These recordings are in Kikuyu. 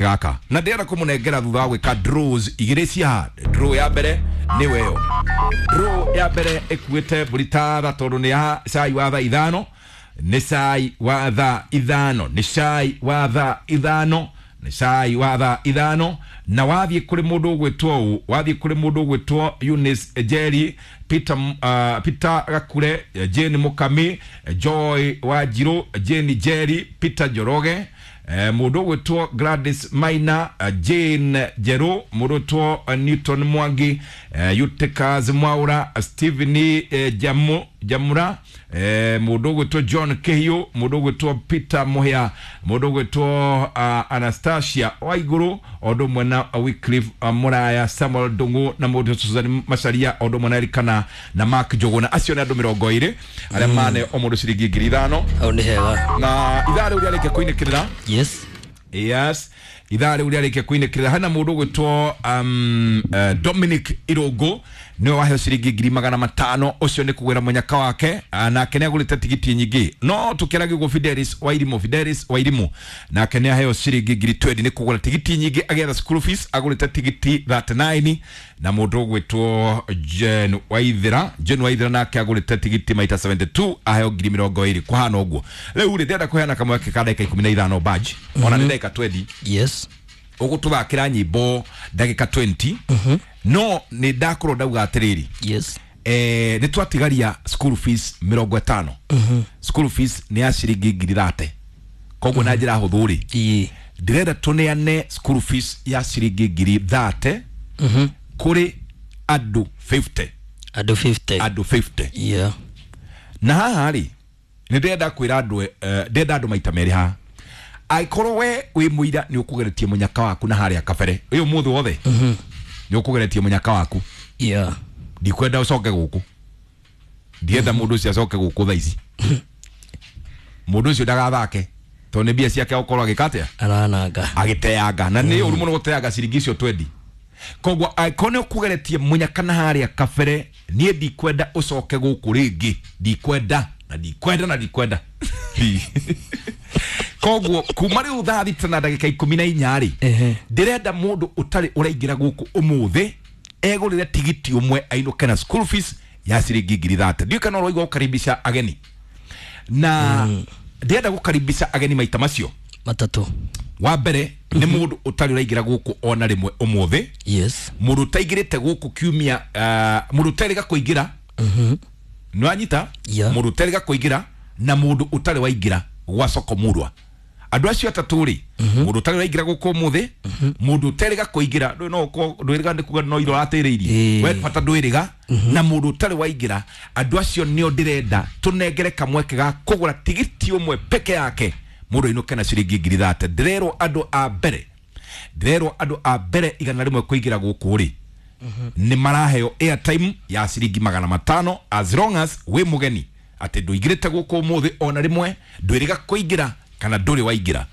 Gaka na ndĩrenda kũmũnengera thutha wa gwĩka draws igĩrĩ cia draw ya mbere nĩ weyo. Draw ya mbere ĩkuĩte mbũri ta tondũ nĩ ya cai wa thaa 5, nĩ cai wa thaa 5, nĩ cai wa thaa 5, nĩ cai wa thaa 5. Na wathiĩ kũrĩ mũndũ ũgwĩtwo ũũ, wathiĩ kũrĩ mũndũ ũgwĩtwo Eunice Jerry, Peter, Peter Gakure, Jane Mukami, Joy Wanjiru, Jane Jerry, Peter Njoroge, mũndũ ũgwĩtwo Gladys Maina, Jane Njeru, mũndũ ũgwĩtwo Newton Mwangi, Eutychus Mwaura, Stephen Jamura, mũndũ ũgwĩtwo John Kihiu, mũndũ ũgwĩtwo Peter Muhia, mũndũ ũgwĩtwo Anastasia Waiguru, o ũndũ ũmwe na Wycliffe Muraya, Samuel Ndung'u na mũndũ Susan Macharia, o ũndũ ũmwe na Erikana na Mark Njuguna. Acio nĩ andũ 20 arĩa mane o mũndũ ciringi 5,000. Hau nĩ hega. Na ithaa rĩu rĩarĩkia kũinĩkĩrĩra. Yes. Yes, ithaa rĩu rĩarĩkia kũinĩkĩrĩra hena mũndũ ũgwĩtwo Dominic Irũngũ, nĩwe waheo ciringi 500,000. Ũcio nĩ kũgwĩra mũnyaka wake, nake nĩ agũrĩte tigiti nyingĩ. No tũkĩaragia ũguo Fidelis Wairimu, Fidelis Wairimu nake nĩ aheo ciringi 20,000 nĩ kũgũra tigiti nyingĩ agĩetha school fees, agũrĩte tigiti 39. Na mũndũ ũgwĩtwo Jane Waithera, Jane Waithera nake agũrĩte tigiti maita 72, aheo 20,000. Kũhana ũguo rĩu rĩ, ndĩrenda kũheana kamweke ka ndagĩka 15 badge, ona nĩ ndagĩka 20. Yes. Ũgũtũthakĩra nyĩmbo ndagĩka 20. No nĩ ndakorwo ndauga atĩrĩrĩ. Yes. Nĩ twatigaria school fees 50. School fees nĩ ya ciringi 30,000. Koguo na njĩra hũthũ rĩ, ndĩrenda tũneane school fees ya ciringi 30,000 kũrĩ andũ 50. Andũ 50. Andũ 50. Yeah. Na haha rĩ, nĩ ndĩrenda kwĩra andũ, ndĩrenda andũ maita merĩ haha. Angĩkorwo we wĩ mũira nĩ ũkũgeretie mũnyaka waku na harĩa kabere ũyũ mũthĩ wothe nĩ ũkũgeretie mũnyaka waku. Yeah. Ndikwenda ũcoke gũkũ, ndienda mũndũ ũcio acoke gũkũ thaa ici. Mũndũ ũcio ndagathake tondũ nĩ mbia ciake agũkorwo agĩka atĩa, arananga, agĩteanga. Na nĩ ũru mũno gũteanga ciringi icio 20. Koguo angĩkorwo nĩ ũkũgeretie mũnyaka na harĩa kabere, niĩ ndikwenda ũcoke gũkũ rĩngĩ, ndikwenda na ndikwenda na ndikwenda. Koguo kuma rĩu thaa 6 na ndagĩka 14 rĩ, ndĩrenda mũndũ ũtarĩ ũraingĩra gũkũ ũmũthĩ egũrĩre tigiti ũmwe ainũke na school fees ya ciringi 30,000. Ndiũĩ kana ũraigua gũkaribisha ageni. Na ndĩrenda gũkaribisha ageni maita macio matatũ. Wa mbere nĩ mũndũ ũtarĩ ũraingĩra gũkũ ona rĩmwe ũmũthĩ. Yes. Mũndũ ũtaingĩrĩte gũkũ kiumia, mũndũ ũtarĩga kũingĩra. Nĩ wanyita? Yeah. Mũndũ ũtarĩga kũingĩra na mũndũ ũtarĩ waingĩra gwa soko murwa. Andũ acio atatũ rĩ, mũndũ ũtarĩ ũraingĩra gũkũ ũmũthĩ, mũndũ ũtarĩga kũingĩra, ndũĩ no ũkorwo ndwĩrĩga nĩ kuga no iro ũratĩrĩirie. We bata ndwĩrĩga, na mũndũ ũtarĩ waingĩra, andũ acio nĩo ndĩrenda tũnengere kamweke ga kũgũra tigiti ũmwe peke yake, mũndũ ainũke na ciringi 30,000. Ndĩrerwo andũ a mbere, ndĩrerwo andũ a mbere 100 kũingĩra gũkũ rĩ, nĩ maraheo airtime ya ciringi 500 as long as wĩ mũgeni atĩ ndũingĩrĩte gũkũ ũmũthĩ ona rĩmwe, ndwĩrĩga kũingĩra kana ndũrĩ waingĩra.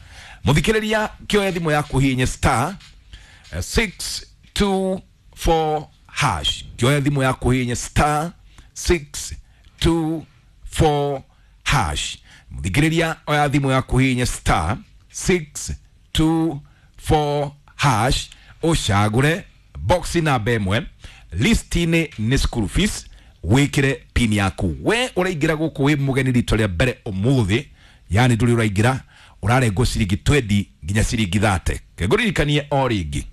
Mũthikĩrĩria, kĩoya thimũ yaku hihinye star 624 hash. Kĩoya thimũ yaku hihinye star 624 hash. Mũthikĩrĩria, oya thimũ yaku hihinye star 624 hash, ũcagũre box namba 1, list-inĩ nĩ school fees, wĩkĩre pin yaku. We ũraingĩra gũkũ wĩ mũgeni rita rĩa mbere ũmũthĩ, yani ndũrĩ ũraingĩra, ũrarengwo ciringi 20 nginya ciringi 30. Ngũririkanie o rĩngĩ,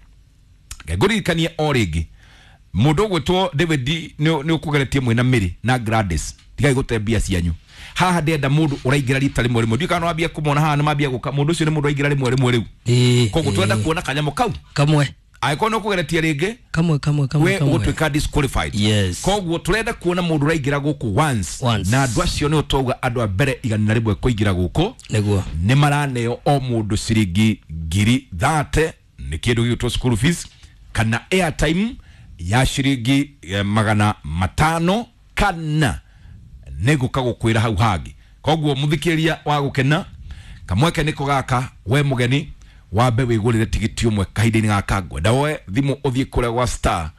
ngũririkanie o rĩngĩ, mũndũ ũgwĩtwo David nĩ ũkũgeretie mwĩna Mary na Gladys, tigai gũte mbia cianyu. Haha ndĩrenda mũndũ ũraingĩra rita rĩmwe rĩmwe. Ndiũĩ kana nĩwambia kũmona haha, nĩmambia gũka. Mũndũ ũcio nĩ mũndũ ũraingĩra rĩmwe rĩmwe rĩu. Koguo twenda kuona kanyamũ kau kamwe. Angĩkorwo nĩ ũkũgeretie rĩngĩ, kamwe kamwe kamwe we kamwe, ũgũtuĩka disqualified. Yes. Koguo tũrenda kuona mũndũ ũraingĩra gũkũ once. Once. Na andũ acio nĩo twauga andũ a mbere 100 kũingĩra gũkũ nĩguo nĩ maraneo o mũndũ ciringi 30,000, nĩ kĩndũ gĩgwĩtwo school fees kana airtime ya ciringi 500, kana nĩ ngũka gũkwĩra hau hangĩ. Koguo mũthikĩrĩria wa gũkena, kamweke nĩko gaka, we mũgeni wambe wĩgũrĩre tigiti ũmwe kahinda-inĩ gaka. Ngwenda woe thimũ ũthiĩ kũrĩa gwa star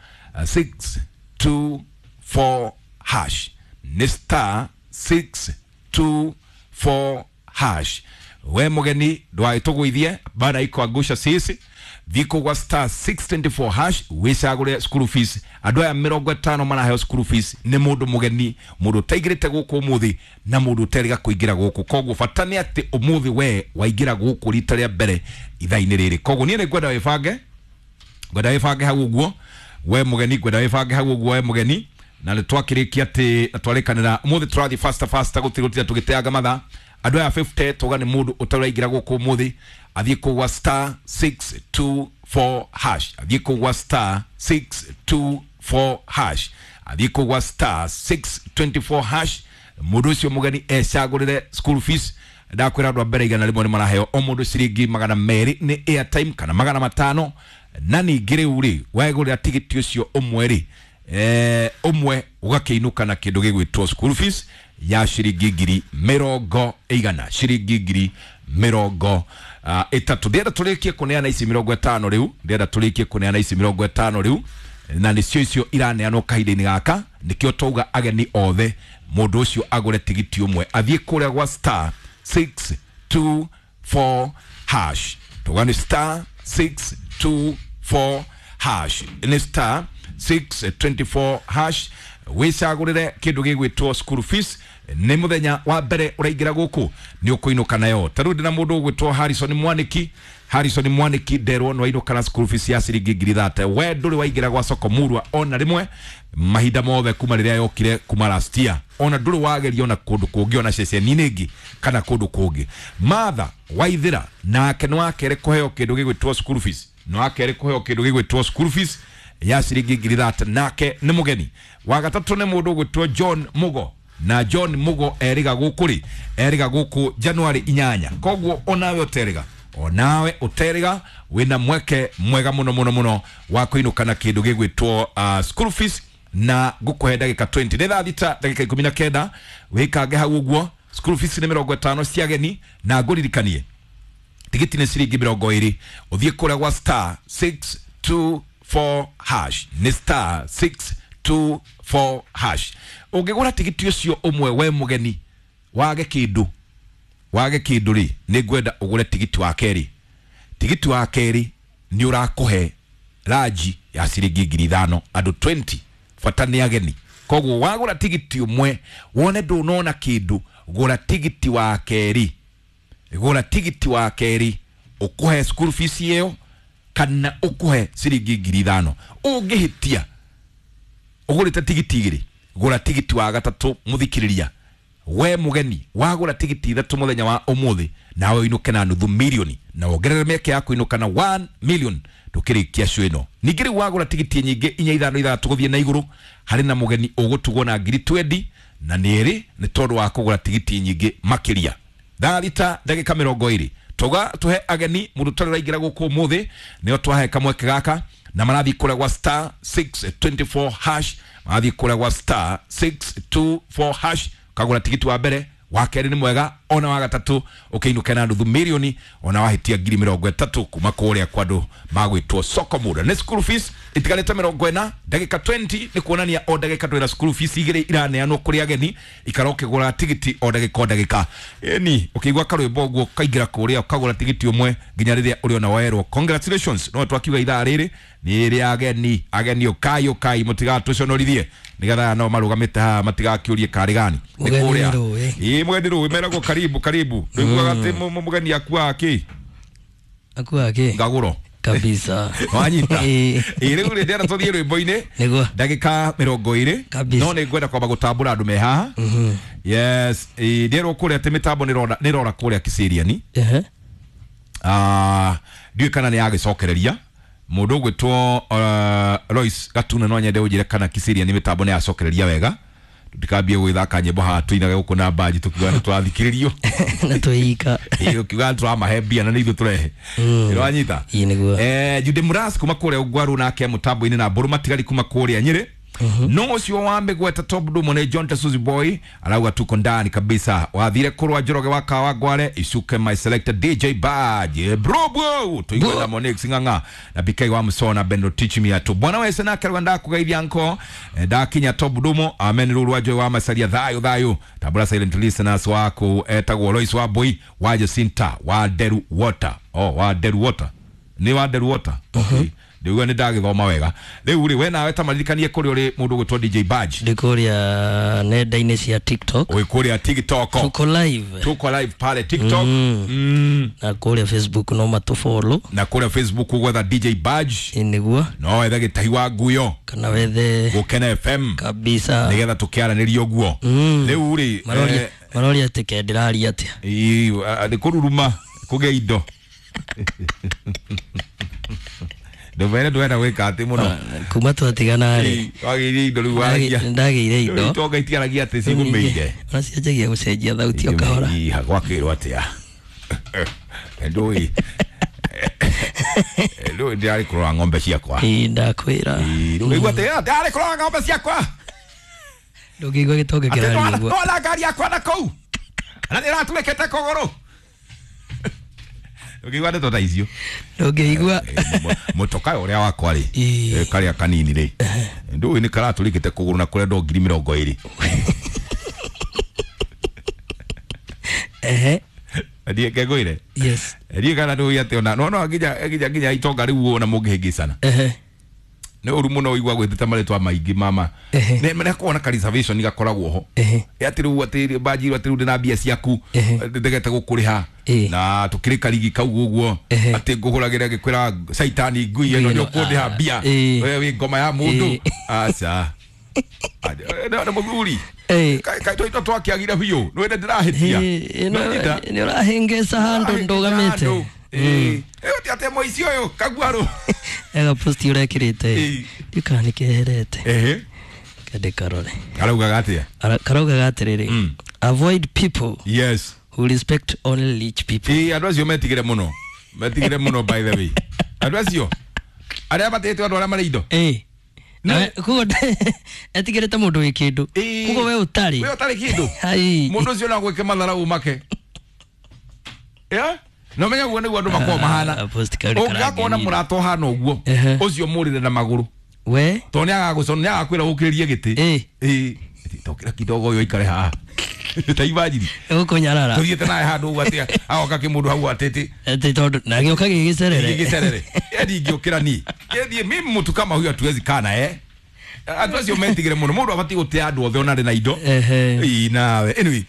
624 hash, nĩ star 624 hash. We mugeni ndwagĩtũgũithie bana ikuangusha sisi thikå gwa star 624 hash wicagũre school fees. Andũ aya 50 maraheo school fees nĩ mũndũ mũgeni, mũndũ ũtaingĩrĩte gũkũ ũmũthĩ na mũndũ ũterĩga kũingĩra gũkũ. Koguo bata nĩ atĩ ũmũthĩ we waingĩra gũkũ rita rĩa mbere ithaa-inĩ rĩrĩ. Koguo niĩ nĩ ngwenda wĩbange, ngwenda wĩbange hau ũguo we mũgeni, ngwenda wĩbange hau ũguo we mũgeni. Na nĩ twakĩrĩkia atĩ na twarĩkanĩra ũmũthĩ tũrathiĩ faster faster, gũtirĩ tũgĩteanga mathaa. Andũ aya 50 tuga nĩ mũndũ ũtaraingĩra gũkũ ũmũthĩ athiĩ kũgwa star 624 hash, athiĩ kũgwa star 624 hash, athiĩ kũgwa star 624 hash. Mũndũ ũcio mũgeni ecagũrĩre school fees. Ndakwĩra andũ a mbere 100 nĩ maraheo o mũndũ ciringi 200 nĩ airtime kana 500. Na ningĩ rĩu rĩ wegũrĩra tigiti ũcio ũmwe rĩ, ũmwe ũgakĩinũka na kĩndũ gĩgwĩtwo school fees ya ciringi 100,000, ciringi 30,000. Ndĩrenda tũrĩkie kũneana ici 50 rĩu, ndĩrenda tũrĩkie kũneana ici 50 rĩu, na nĩcio icio iraneanwo kahinda-inĩ gaka. Nĩkĩo twauga ageni othe mũndũ ũcio agũre tigiti ũmwe athiĩ kũrĩa gwa star 624 hash. Tuga nĩ star 624 hash, nĩ star 624 hash wicagũrĩre kĩndũ gĩgwĩtwo school fees. Nĩ mũthenya wa mbere ũraingĩra gũkũ nĩ ũkũinũka nayo. Ta rĩu ndĩna mũndũ ũgwĩtwo Harrison Mwaniki. Harrison Mwaniki nderwo nĩ wainũka na school fees ya ciringi 30,000. We ndũrĩ waingĩra gwa soko murwa ona rĩmwe mahinda mothe kuma rĩrĩa yokire kuma last year, ona ndũrĩ wageria ona kũndũ kũngĩ ona ceceni-inĩ ĩngĩ kana kũndũ kũngĩ. Martha Waithĩra nake nĩ wakerĩ kũheo kĩndũ gĩgwĩtwo school fees, nĩ wakerĩ kũheo kĩndũ gĩgwĩtwo school fees ya ciringi 30,000, nake nĩ mũgeni. Wa gatatũ nĩ mũndũ ũgwĩtwo John Mugo, na John Mugo erĩga gũkũ rĩ, erĩga gũkũ January 8. Koguo onawe ũterĩga, onawe ũterĩga wĩna mweke mwega mũno mũno mũno wa kũinũka na kĩndũ gĩgwĩtwo school fees. Na ngũkũhe ndagĩka 20, nĩ thaa 6 ndagĩka 19, wĩkange hau ũguo. School fees nĩ 50 cia ageni, na ngũririkanie tigiti nĩ ciringi 20. Ũthiĩ kũrĩa gwa star 624 hash, nĩ star 624 hash. Ũngĩgũra tigiti ũcio ũmwe we mũgeni wage kĩndũ, wage kĩndũ rĩ, nĩ ngwenda ũgũre tigiti wa kerĩ. Tigiti wa kerĩ nĩ ũrakũhe ranji ya ciringi 5,000 andũ 20, bata nĩ ageni. Koguo wagũra tigiti ũmwe wone ndũnona kĩndũ, gũra tigiti wa kerĩ, gũra tigiti wa kerĩ ũkũhe school fees ĩyo kana ũkũhe ciringi 5,000. Ũngĩhĩtia ũgũrĩte tigiti igĩrĩ, gũra tigiti wa gatatũ. Mũthikĩrĩria we mũgeni wagũra tigiti ithatũ mũthenya wa ũmũthĩ, nawe ũinũke na 500,000 na wongerere mĩeke ya kũinũka na 1 million tũkĩrĩkia show ĩno. Ningĩ rĩu wagũra tigiti nyingĩ 4 5 6 gũthiĩ na igũrũ, harĩ na mũgeni ũgũtugwo na 20,000 na nĩ ĩrĩ nĩ tondũ wa kũgũra tigiti nyingĩ makĩria. Thaa 6 ndagĩka 20 tuga tuhe ageni mũndũ ũtarĩ ũraingĩra gũkũ ũmũthĩ nĩo twahe kamweke gaka, na marathiĩ kũrĩa gwa star 624 hash, marathiĩ kũrĩa gwa star 624 hash kagũra tigiti wa mbere, wa kerĩ nĩ mwega, ona wa gatatũ ũkĩinũke na 500,000, ona wahĩtia 30,000 kuma kũrĩa kwa andũ magwĩtwo soko murwa. Nĩ school fees itigarĩte 40 ndagĩka 20, nĩ kuonania o ndagĩka twĩna school fees igĩrĩ iraneanwo kũrĩ ageni, ikara ũkĩgũra tigiti o ndagĩka o ndagĩka. Ĩni ũkĩigua karwĩmbo ũguo ũkaingĩra kũrĩa ũkagũra tigiti ũmwe nginya rĩrĩa ũrĩona werwo congratulations. No twakiuga ithaa rĩrĩ nĩ rĩa ageni, ageni ũkai ũkai mũtigatũconorithie nĩgetha no marũgamĩte haha matigakĩũrie karĩ gani nĩ kũrĩa. Ĩĩ mũgeni rũĩ meragwo karibu karibu. Ndũiguaga atĩ mũgeni akuaga kĩ? Akuaga kĩ? Ngagũro kabisa. Wanyita. Ĩĩ rĩu rĩ ndĩrenda tũthiĩ rwĩmbo-inĩ ndagĩka 20, no nĩ ngwenda kwamba gũtambũra andũ me haha. Yes, ndĩrwo kũrĩa atĩ mĩtambo nĩrora kũrĩa Kiseriani. Ndiũĩ kana nĩ yagĩcokereria. Mũndũ ũgwĩtwo Lois Gatuna no nyende ũnjĩre kana Kiseriani mĩtambo nĩ yacokereria wega. Tutikambie gwĩthaka nyĩmbo haha tũinage gũkũ na mbanji tũkiuga nĩ tũrathikĩrĩrio na twĩika ũkiuga nĩ tũramahe mbia na nĩ ithuĩ tũrehe. Nĩwanyita? Ĩĩ nĩguo. Jude Muras kuma kũrĩa Ũgwaru nake mũtambo-inĩ na Mbũrũ Matigari kuma kũrĩa Nyĩrĩ. No ucio wa migweta top dumo ni John Tasuzi boy arauga tuko ndani kabisa wathire kurwa Njoroge wa Kawa Ngware icuke my selected DJ Badge bro bro tuigwe na Monix ng'ang'a na BK wa Musona Bendo teach me atu bwana wese nake rwa ndakugeithia nko ndakinya top dumo amen ruru wa wa masaria thayo thayo tabura silent listeners wako etagwo Lois wa Boy wa Jacinta wa Deru Water oh wa Deru Water ni wa Deru Water okay ndiuga ni ndagithoma wega riu ri we nawe ta maririkanie kuri uri mundu gwitwo DJ Badge ndi kuria nenda-inĩ cia TikTok wi kuria TikTok tuko live pale TikTok na kuria Facebook no matufollow na kuria Facebook gwetha DJ Badge niguo no wethe gitahi wa nguyo kana wethe Gukena FM kabisa nigetha tukiaranirie uguo riu ri maroria ati ke ndiraria atia ni kururuma kugia indo nduvere ndwenda gwika ati muno kuma twatigana ri wagĩire indo rĩu waragia ndagĩire indo itonga itiaragia atĩ cigũmĩire ona cianjagia gũcenjia thauti o kahora gwakĩrwo atĩa ndũĩ ndũĩ ndĩrarĩ kũrora ng'ombe ciakwa ndakwĩra ndũngĩigua atĩ ndĩrarĩ kũrora ng'ombe ciakwa ndũngĩigua gĩtonga kĩraria ũguo twara ngari yakwa na kũu na nĩratũrĩkĩte kũgũrũ ndũngĩigua ndeto ta icio ndũngĩigua mutoka uria wakwa ri karia kanini ri ndũĩ nĩ karatũrĩkĩte kũgũrũ na kũrendwo 20,000 ehe ndiĩ ngengũire yes ndiĩ kana ndũĩ atĩ ona no nginya itonga rĩu ona mũngĩhĩngĩcana ehe nĩ ũru mũno ũigua gwĩtĩte marĩtwa maingĩ mama nĩ nĩkoragwo na ka reservation gakoragwo ho atĩ rĩu atĩ banjirwo atĩ rĩu ndĩna mbia ciaku ndegete gũkũrĩha na tũkĩrĩ karigi kau ũguo atĩ ngũhũragĩra ngĩkwĩra caitani ngui ĩno nĩ ũkũndĩha mbia we wĩ ngoma ya mũndũ aca nĩ mũthuri kaĩ tũito twakĩagire biũ nĩwende ndĩrahĩtia nĩ ũrahĩngĩca handũ ndũgamĩte ĩĩ atĩ mũici ũyũ kaguarũ ega post ũrekĩrĩte ndikana nĩ keherete kende karore karaugaga atĩa karaugaga atĩrĩrĩ avoid people yes who respect only rich people ĩĩ andũ acio metigĩre mũno metigĩre mũno by the way andũ acio arĩa matĩte andũ arĩa marĩ indo ĩĩ koguo etigĩrĩte mũndũ wĩ kĩndũ koguo we ũtarĩ we ũtarĩ kĩndũ mũndũ ũcio no agwĩke matharau make no menya guo niguo andu makoragwo mahana ũngĩgakorwo na mũrata ũhana ũguo ũcio mũrĩre na magũrũ we tondũ nĩagagũcona nĩagakwĩra ũkĩrĩrie gĩtĩ ĩĩ tokĩra kidogo ũyũ aikare haha ta imagine ũkũnyarara tũthiĩte nawe handũ ũguo atĩ agoka kĩmũndũ hau atĩtĩ atĩ tondũ na gĩũka gĩgĩcerere gĩgĩcerere ndingĩũkĩra niĩ thiĩ mimi mtu kama huyo hatuwezi kaa naye andũ acio metigĩre mũno mũndũ abatiĩ gũtĩa andũ othe ona arĩ na indo ĩĩ nawe anyway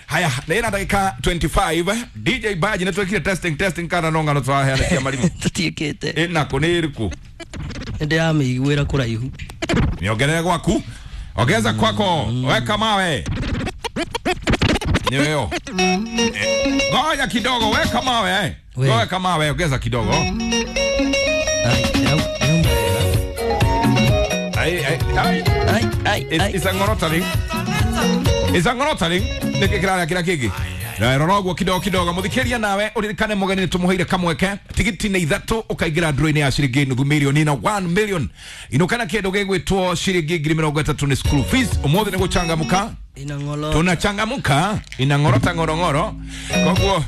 haya na ina dakika 25 DJ Badge nĩ twekire testing kana no ngano twaheana cia marimũ tũtiĩkĩte ĩnako nĩ ĩrĩkũ nĩndĩramĩiguĩra kũraihu niongerere gwaku ongeza kwako weka mawe nĩyo ngoja kidogo weka mawe weka mawe ongeza kidogo ai ai ai ai it's a ngorotaring it's a ngorotaring nĩkĩ kĩrarĩa kĩrĩa kĩngĩ rora ũguo kidogo kidogo mũthikĩria nawe ũririkane mũgeni nĩtũmũheire kamweke tigiti nĩ ithatũ ũkaingĩra ndũrũ-inĩ ya ciringi nuthu mirioni na 1 million inũkana kĩndũ gĩgwĩtwo ciringi 30,000 nĩ school fees ũmũthĩ nĩ gũchangamka tunachangamka inang'orota ng'orong'oro koguo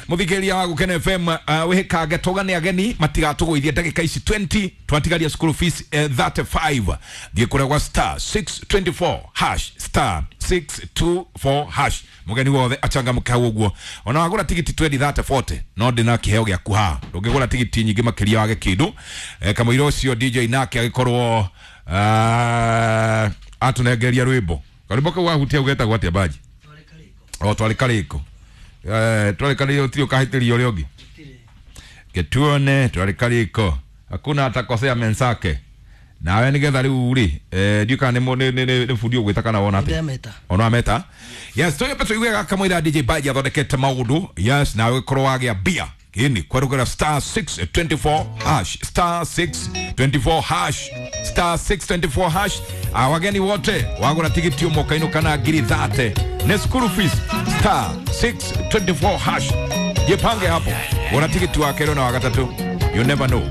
mũthikĩria wa Gukena FM wĩhĩkange tũgane ageni matigatũgũithie ndagĩka ici 20 twatigaria school fees 35 thiĩ kũrĩa gwa star 624 hash star 624 hash mũgeni wothe achangamke hau ũguo ona wagũra tigiti 20 30 40 no ndĩna kĩheo gĩaku haha ndũngĩgũra tigiti nyingĩ makĩria wage kĩndũ kamũira ũcio DJ nake agĩkorwo atũnengeria rwĩmbo karwĩmbo kau wahutia ũgetagwo atĩa Baji o twarĩ karĩko twarĩ karĩko ũtirĩ ũkahĩtĩria ũrĩa ũngĩ gĩtuone twarĩ karĩko hakuna atakosea mensake nawe nĩgetha rĩu rĩ ndiũ kana nĩ bundi ũgwĩta kana wona atĩa ona ameta yes tũyũmbe tũigue gakamũira DJ Baji athondekete maũndũ yes nawe ũgĩkorwo wagĩa mbia gĩni kwerũgera star 624 hash star 624 hash star 624 hash wageni wote wagũra tigiti ũmwe ũkainũka na 30,000 nĩ school fees star 624 hash jipange hapo gũra tigiti wa kerĩ na wa gatatũ you never know.